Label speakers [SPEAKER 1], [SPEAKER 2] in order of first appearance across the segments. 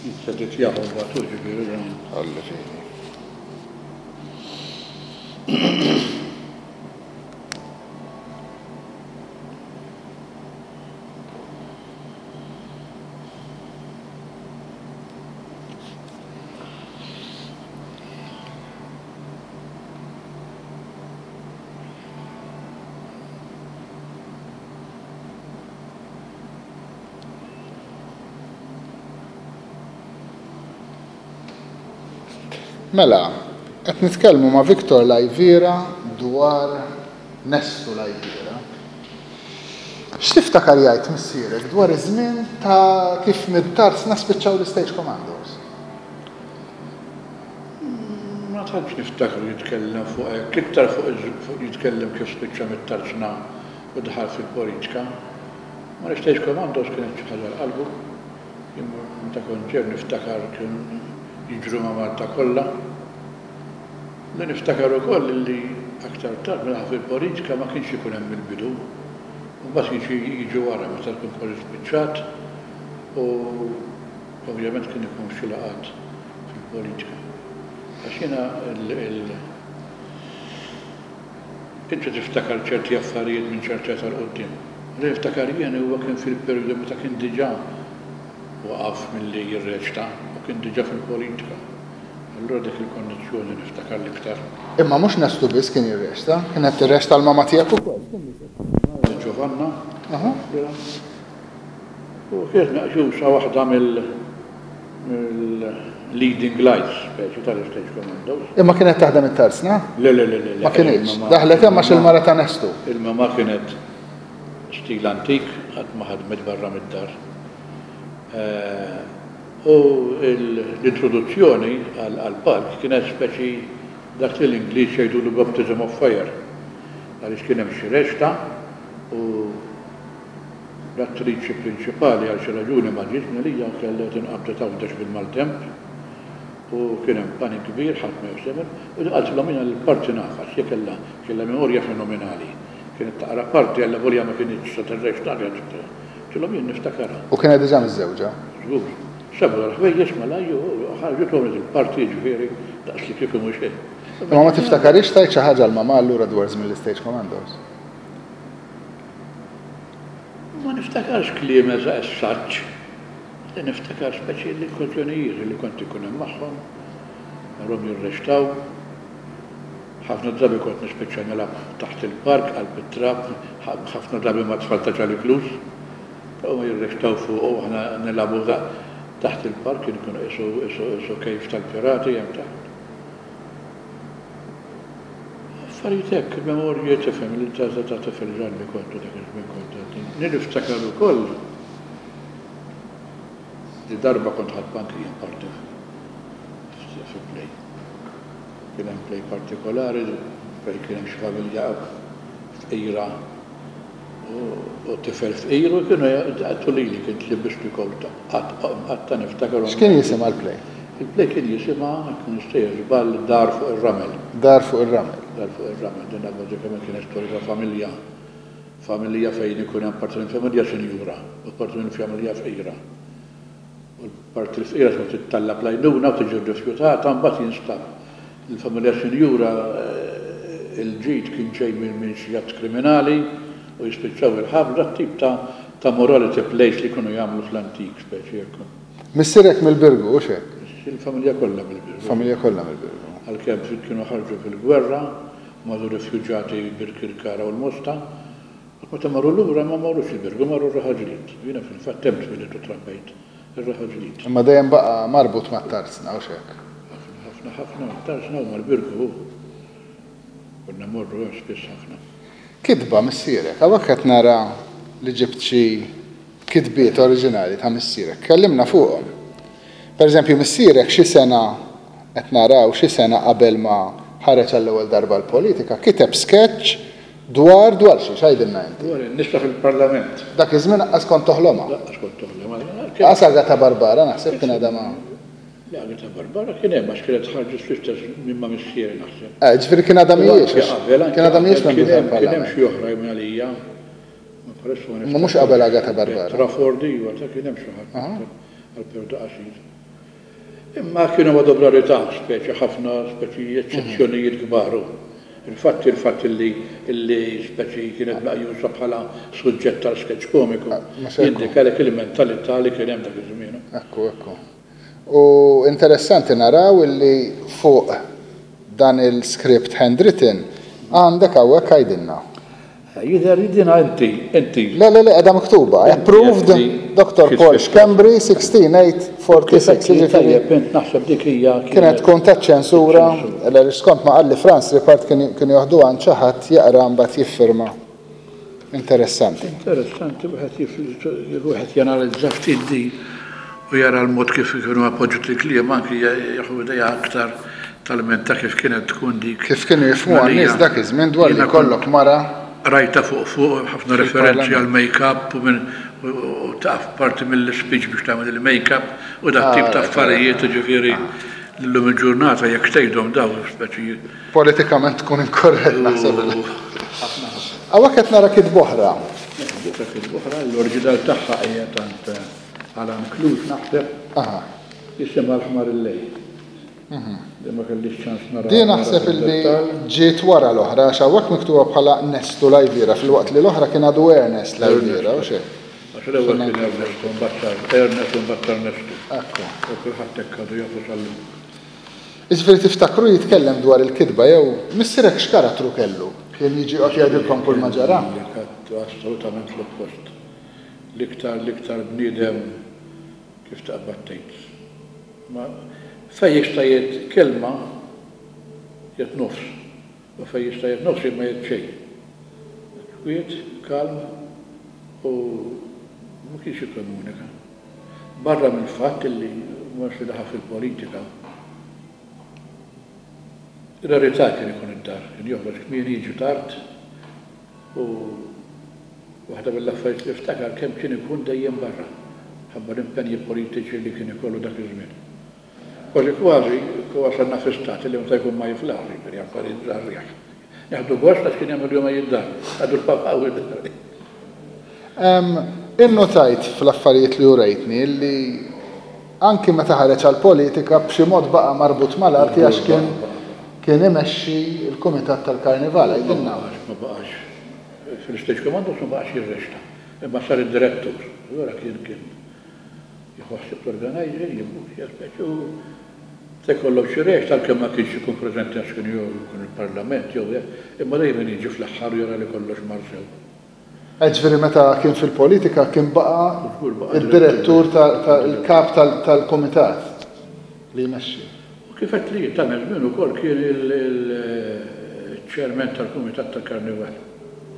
[SPEAKER 1] Jitseditjaha mbagħad hu ġifieri dan.
[SPEAKER 2] Alla fidi. Mela, qed nitkellmu ma' Victor Laiviera dwar Nestu Laiviera. X'tiftakar jgħid missierek dwar iż-żmien ta' kif mid-tarzna spiċċaw l-Stage Commandos?
[SPEAKER 1] Ma tantx niftakru jitkellem fuq hekk, iktar fuq jitkellem kif spiċċa mit-tarzna u daħal fil-politika. Ma l-Stage Commandos kienet xi ħaġa għal qalbu. Jien meta kont ġew niftakar kienu jiġru ma' Malta kollha. Li niftakar ukoll li aktar tard meta daħal fil-politika ma kienx ikun hemm il-bidu. Imbagħad jiġi jiġi wara meta tkun kważi spiċċat u ovvjament kien ikun f'xi laqgħat fil-politika. Għax jiena il Inti tiftakar ċerti affarijiet minn ċerta età 'l quddiem. Li niftakar jien huwa kien fil-perjodu meta kien diġà waqaf milli jirreċta u kien diġà fil-politika. Allura dik il-kondizzjoni niftakar l-iktar.
[SPEAKER 2] Imma mhux Nestu biss kien jirreċta, kienet tirreċta l-mama tiegħek ukoll.
[SPEAKER 1] Giovanna, taflilha. U kienet meqjusa waħda mill leading lights speċi tal-Stage Commandos.
[SPEAKER 2] Imma kienet taħdem it-tarzna?
[SPEAKER 1] Le, le, le, le.
[SPEAKER 2] Ma kinitx. Daħlet hemm għax il-mara ta' Nestu.
[SPEAKER 1] Il-mama kienet stil antik, qatt ma ħadmet barra mid-dar. U l-introduzzjoni għall-palk kienet speċi dak li l-Ingliż jgħidulu baptism of fire. Għaliex kien hemm xi reċta u L-attriċi prinċipali għal xi raġuni ma ġietx minn għalija kellha tinqabdet Għawdex bil-maltemp u kien hemm panik kbir ħadd ma jaf x'jagħmel u qaltilhom jiena l-parti nafha għax hi kellha kellha memorja fenomenali. Kienet taqra parti allavolja ma kinitx se tirreċta kienet Qaltilhom jien niftakarha.
[SPEAKER 2] U kienet diġà miżżewġa?
[SPEAKER 1] Żgur. Sabu l-ħwejjeġ malajr u ħarġet u għamlet il-parti jiġifieri daqs li kieku mhu xejn.
[SPEAKER 2] Imma ma tiftakarhiex tgħid xi ħaġa l-mamà allura dwar żmien l-Istage Commandos?
[SPEAKER 1] Ma niftakarx kliem as such. Li niftakar speċi l-okkażjonijiet li kont inkun hemm magħhom, narhom jirreċtaw. Ħafna drabi kont nispiċċa nilgħab taħt il-park qalb it-trab, ħafna drabi mat-tfal ta' Charlie Cluse. Huma jirreċtaw fuq u aħna nilagħbu taħt il-park, kien ikun qisu qisu cave tal-pirati hemm taħt. Affarijiet hekk, memorji tifhem li ta' ta' tifel żgħir li kont u dak iż-żmien kont għadni. Niftakar ukoll li darba kont ħadt anki jien parti fi play. Kien hemm play partikolari fejn kien hemm xi familja fqira U tifel fqir u kienu jgħattu lili kien tlibbisni kowta. Qatt qatt niftakar.
[SPEAKER 2] X'kien jisimha l-play?
[SPEAKER 1] Il-play kien jisimha, jekk m'iniex sejjer żball, Dar fuq ir-Ramel.
[SPEAKER 2] Dar fuq ir-Ramel.
[SPEAKER 1] Dar fuq ir-Ramel. Din bażikament kienet storja ta' familja, familja fejn ikun hemm parti mill-familja sinjura u parti mill-familja fqira. U l-parti l-fqira tkun tittallab l-għajnuna u tiġi rrifjutata, mbagħad jinstab li l-familja sinjura l-ġid kien ġej minn xi att kriminali u jispiċċaw il-ħabs, dat-tip ta' ta' morality plays li kienu jagħmlu fl-antik speċi hekk.
[SPEAKER 2] Missierek mill-Birgu, hux hekk?
[SPEAKER 1] Il-familja kollha mill-Birgu.
[SPEAKER 2] Familja kollha mill-Birgu.
[SPEAKER 1] Għalkemm kienu ħarġu fil-gwerra, marru rifjuġati Birkirkara u l-Mosta, U meta marru lura ma marrux il-Birgu, marru r-Raħal Ġdid. Jiena fil-fatt hemm twilidt u trabbejt, ir-Raħal Ġdid.
[SPEAKER 2] Imma dejjem baqa' marbut mat-Tarzna, hux hekk?
[SPEAKER 1] Ħafna, ħafna, ħafna mat-Tarzna u mal-Birgu hu. Konna mmorru hemm spiss ħafna.
[SPEAKER 2] Kitba missierek. Hawnhekk qed nara li ġibt xi kitbiet oriġinali ta' missierek. Kellimna fuqhom. Per eżempju, missierek xi sena qed naraw xi sena qabel ma ħareġ għall-ewwel darba l-politika kiteb sketch Dwar, dwar xiex, għidilna inti.
[SPEAKER 1] Dwar in-nisa fil-Parlament.
[SPEAKER 2] Dak iż-żmien aqqas kont toħlomha.
[SPEAKER 1] Laqqas kont toħlomha.
[SPEAKER 2] Laqqas Agata Barbara naħseb kien għadha ma.
[SPEAKER 1] Le Agata Barbara kien hemm għax kienet ħarġet fl-istess żmien ma' missieri naħseb.
[SPEAKER 2] Eh, ġifieri kien għadha mhijiex. Kien għadha mhijiex membru tal-Parlament.
[SPEAKER 1] Kien hemm xi oħra minn għalija.
[SPEAKER 2] Ma mhux qabel Agata Barbara.
[SPEAKER 1] Trafford iva, ta' kien hemm xi ħadd għal perjodu qasir. Imma kienu għadhom rarità, speċi ħafna speċi eċċezzjonijiet kbar u infatti il-fatt illi illi speċi kienet meqjusa bħala suġġett għal sketch komiku jindikalek il-mentalità li kien hemm dak iż-żmien.
[SPEAKER 2] Ekku, ekku. U interessanti naraw illi fuq dan il-script handwritten għandek hawnhekk għidilna.
[SPEAKER 1] Jidher li dinha inti, inti.
[SPEAKER 2] Le, le, le, qiegħda miktuba. Approved Dottor Paul Schembri 16846, jiġifieri.
[SPEAKER 1] Tajjeb, int naħseb dik hija.
[SPEAKER 2] Kienet tkun taċ-ċensura, għaliex skont ma qalli Frans Ripart kienu joħduha għand xi ħadd jaqra mbagħad jiffirma. Interessanti.
[SPEAKER 1] Interessanti wieħed wieħed janalizza ftit din u jara l-mod kif kienu appoġġjat il-kliem anki jieħu idea aktar Talment ta' kif kienet tkun dik.
[SPEAKER 2] Kif kienu jifhmuha n-nies dak iż-żmien dwar li jkollok mara.
[SPEAKER 1] Rajtha fuq fuq ħafna referenzi għal make up u minn u taf parti mill-ispeech biex tagħmel il-make up u dat tip ta' affarijiet jiġifieri llum il-ġurnata jekk tgħidhom dawn speċi.
[SPEAKER 2] Politikament tkun inkorrett naħseb. Hawnhekk qed nara kitba oħra.
[SPEAKER 1] Dik kitba oħra l-oriġinal tagħha qiegħed għand Alan Cluse naħseb. Jisimha l-ħmar il-lejl. Din ma kellix ċans naraha.
[SPEAKER 2] Din naħseb illi ġiet wara l-oħra għax hawnhekk miktuba bħala Nestu Lajviera filwaqt li l-oħra kien għadu Ernest Lajviera, hux hekk?
[SPEAKER 1] Għax l-ewwel kien Ernesto mbagħad sar Ernest u mbagħad sar Nestu.
[SPEAKER 2] Ekku.
[SPEAKER 1] U kulħadd hekk għadu jafu sal-lum.
[SPEAKER 2] Jiġifieri tiftakru jitkellem dwar il-kitba jew missierek x'karattru kellu? Kien jiġi joqgħod jgħidilkom kull ma ġara?
[SPEAKER 1] Assolutament l-oppost. L-iktar l-iktar bniedem kif taqbad tgħid. Ma fejn jista' jgħid kelma jgħid nofs u fejn jista' jgħid nofs ma jgħid xejn. Kwiet, kalm u ma kienx jikkomunika. Barra mill-fatt li once li daħal fil-politika, rarità kien ikun id-dar, kien joħroġ kmieni jiġi tard U waħda mill-affarijiet li niftakar kemm kien ikun dejjem barra, minħabba l-impenji politiċi li kien ikollu dak iż-żmien. Kważi kważi wasalna fi stat li meta jkun ma jiflaħx, jiġifieri affarijiet żgħar riħ. Nieħdu gost għax kien jagħmel jumejn id-dar, ngħidu l-papà u d-dar.
[SPEAKER 2] Innotajt fl-affarijiet li urejtni li anki meta ħareġ għall-politika b'xi mod baqa' marbut mal-arti għax kien Kien imexxi l-Kumitat tal-Karnival, għidilna.
[SPEAKER 1] Ma baqax, ma baqax. Fil-Stage Commandos ma baqax jirreċta, imma sar id-direttur. Allura kien kien jieħu ħsieb l-organizing, jibbukkja speċi u se jkollhom xi reċta għalkemm ma kienx ikun preżenti għax kien jew ikun il-Parlament jew hekk, imma dejjem kien jiġi fl-aħħar u jara li kollox mar sew.
[SPEAKER 2] Jiġifieri meta kien fil-politika kien baqa' d-direttur il-kap tal-kumitat li jmexxi.
[SPEAKER 1] U kif għedt li ta' żmien ukoll kien il-chairman tal-kumitat tal-karnival.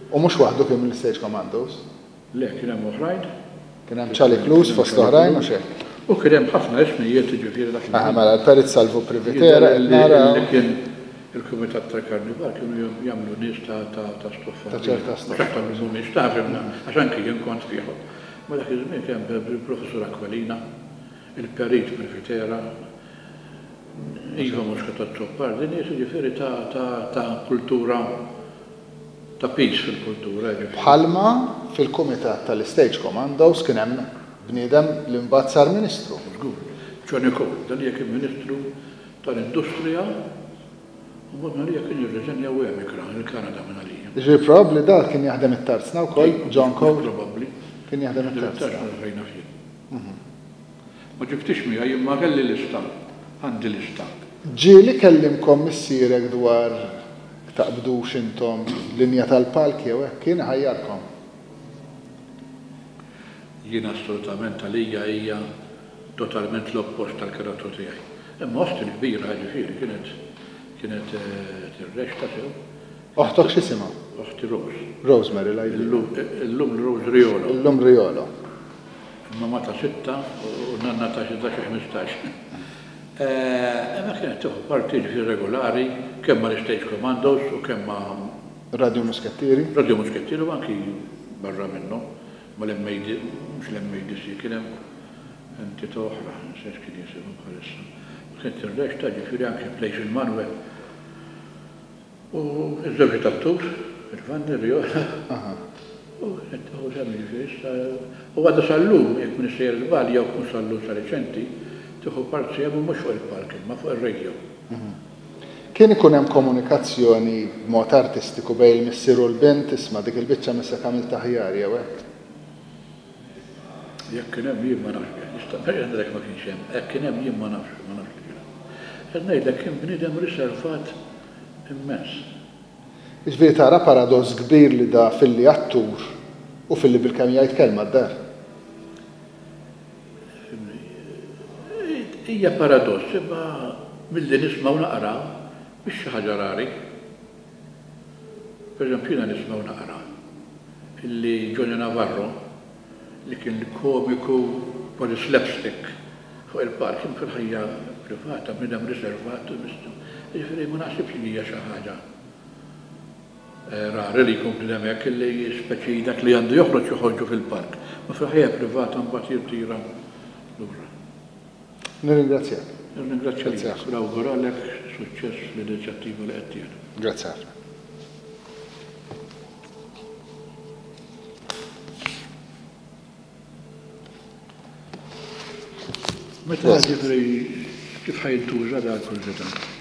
[SPEAKER 2] U mhux waħdu kien mill-Stage Commandos?
[SPEAKER 1] Le, kien hemm oħrajn.
[SPEAKER 2] Kien hemm Charlie Cluse fost oħrajn u x'hekk.
[SPEAKER 1] U kien hemm ħafna ismijiet jiġifieri dak
[SPEAKER 2] iż-żmien. Aha, mela l-Perit Salvu Privitera qed nara.
[SPEAKER 1] Li kien il-Kumitat tal-Karnival kienu jagħmlu nies ta' stoffa.
[SPEAKER 2] Ta' ċerta stoffa.
[SPEAKER 1] Mhux aktar minn mhumiex taf imma għax anki jien kont fih. Ma dak iż-żmien kien hemm il-Professur Aquilina, il-Perit Privitera, Iva Muscat Azzopardi, nies jiġifieri ta' kultura ta' piż fil-kultura, jiġifieri.
[SPEAKER 2] Bħalma fil-kumitat tal-Istage Commandos kien hemm bniedem li mbagħad sar Ministru.
[SPEAKER 1] Żgur. Johnny Cole, dan hija kien Ministru tal-Industrija u mbagħad minn għalija kien irriżenja u emigra il-Kanada minn għalija.
[SPEAKER 2] Jiġifieri probabbli dan kien jaħdem it-tarzna wkoll, John Cole?
[SPEAKER 1] Mhux probabbli.
[SPEAKER 2] Kien jaħdem it-tarzna.
[SPEAKER 1] It-tarzna fejn naf jien. Ma ġibtix miegħi imma kelli lista, għandi lista.
[SPEAKER 2] Ġieli kellimkom missierek dwar taqbdux intom linja tal-palk jew hekk? Kien iħajjarkom?
[SPEAKER 1] Jien assolutament għalija hija totalment l-oppost tal-karattru tiegħi. Imma oħti l-kbira jiġifieri kienet kienet tirreċta sew.
[SPEAKER 2] Oħtok x'isimha?
[SPEAKER 1] Oħti Rose.
[SPEAKER 2] Rosemary l-għidilha.
[SPEAKER 1] Illum Rose Riolo.
[SPEAKER 2] Illum Riolo.
[SPEAKER 1] Il-mamà ta' sitta u n-nanna ta' xi 15. Imma kienet tieħu parti jiġifieri regolari kemm mal-Istage Commandos u kemm ma'.
[SPEAKER 2] Radio Muskettieri.
[SPEAKER 1] Radio Muskettieri u anki barra minnhom mal-MAD, mhux l-MADC, kien hemm entità oħra, nsejt x'kien jisimha bħalissa. Kienet tirreċta jiġifieri anki Place il-Manuel. U ż-żewġiet attur, il-Vanni, Riola, u qed tieħu sehem jiġifieri issa u għadha sal-lum, jekk m'iniex sejjer żball jew mhux sal-lum sa riċenti, Tieħu part sehem u mhux fuq il-palk imma fuq ir-radio.
[SPEAKER 2] Kien ikun hemm komunikazzjoni b'mod artistiku bejn il-missier u l-bint, isma' dik il-biċċa missek għamiltha aħjar jew hekk?
[SPEAKER 1] Jekk kien hemm jien ma nafx bih. Nista' ngħidlek ma kienx hemm. Jekk kien hemm jien ma nafx, ma nafx li kien hemm. Qed ngħidlek kien bniedem riservat immens.
[SPEAKER 2] Jiġifieri tara paradoss kbir li da filli attur u filli bilkemm jgħid kelma d-dar.
[SPEAKER 1] Hija paradoss imma milli nisma' u naqra mhix xi ħaġa rari. Pereżempju jiena nisma' u naqra illi Johnny Navarro li kien komiku kważi slapstick fuq il-palk imma fil-ħajja privata bniedem riservat u jiġifieri ma naħsibx li hija xi ħaġa Rari li jkun bniedem hekk illi speċi dak li għandu joħroġ joħorġu fil-palk, ma fil-ħajja privata mbagħad jirtira lura.
[SPEAKER 2] Nirringrazzjak.
[SPEAKER 1] Nirringrazzja lilek u nawguralek suċċess fl-inizjattiva li qed tieħdu.
[SPEAKER 2] Grazzi ħafna.
[SPEAKER 1] Meta ġifieri kif ħa jintuża dan kurżità?